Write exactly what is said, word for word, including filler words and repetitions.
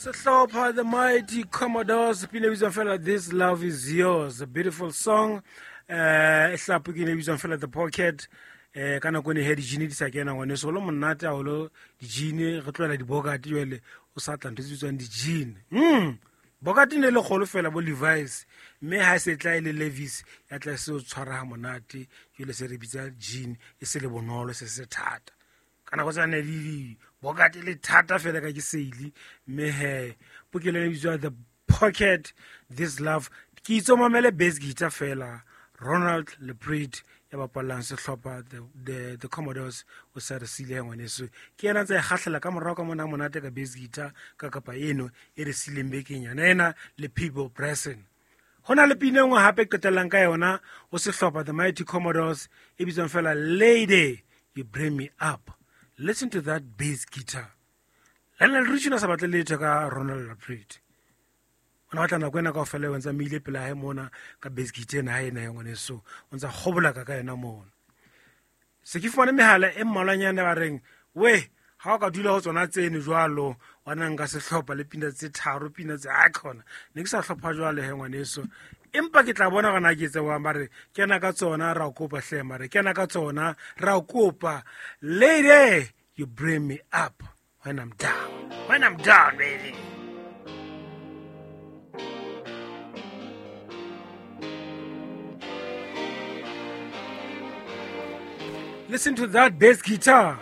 Sehlopha The Mighty Commodores, pina e bitswang fela This Love Is Yours, a beautiful song. Eh, e hlapo ke e bitswang fela The Pocket. Eh, ka nako ene he dijini di sa kena ngwaneso, o lo monate haholo dijini, re tlohela dibokate jwale, o sa tla ntho tse bitswang dijini. Mm. Bokate ne le kgolo fela bo Levi's, mme ha e se tla e le Levi's, ya tla se o tshwara ha monate, jwale se re bitsa jean, e se le bonolo, se se thata. Ka nako tsane di di bokate le thata fela ka ke seile, mme he pokelo e bitswa The Pocket, This Love. Ke itse o mamele bass guitar fela, Ronald Leprit ya bapallang sehlopha the, the, the Commodores, o sa re sile ngwaneso. Ke yena ntse a kgahlela ka morao ka mona monate ka bass guitar ka kapa eno e re sileng bekeng yona ena le Peabo Bryson. Ho na le pina e nngwe hape qetellang ka yona ho sehlopha The Mighty Commodores e bitswang fela Lady You Bring Me Up. Listen to that bass guitar. Lionel Richie o sa batle letho ka Ronald Leprit. O na batla nako ena kaofela o ntsa meile pela hae mona ka bass guitar ena hae ena ya ngwaneso, o ntsa kgobolaka ka yona mona. Se ke fumane mehala e mmalwanyana ba reng, we ha o ka dula ho tsona tseno jwalo, wa na nka sehlopha le pina tse tharo, pina tse a khona. Ne ke sa hlopha jwalo he ngwaneso, empa ke tla bona hore na ke etse jwang. Ba re kena ka tsona ra o kopa hle, mare kena ka tsona ra o kopa. Lady, you bring me up when I'm down. When I'm down, baby. Listen to that bass guitar.